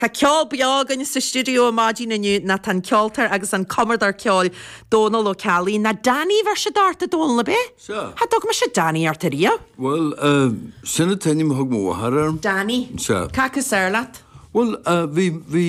Tá ceol beo againn sa stiúideo ar maidin inniu ná tá an ceoltóir agus an cumadóir ceoil Dónal Ó Ceallaigh, ná Danny a bheir siad ort a Dónal ab é? Sea. Cha dtug mise Danny ort ariamh. Bhuel, sin an t-ainm a thug mo mháthair orm. Danny. Sea. Cad is fearr leat? Bhuel, bhí, bhí.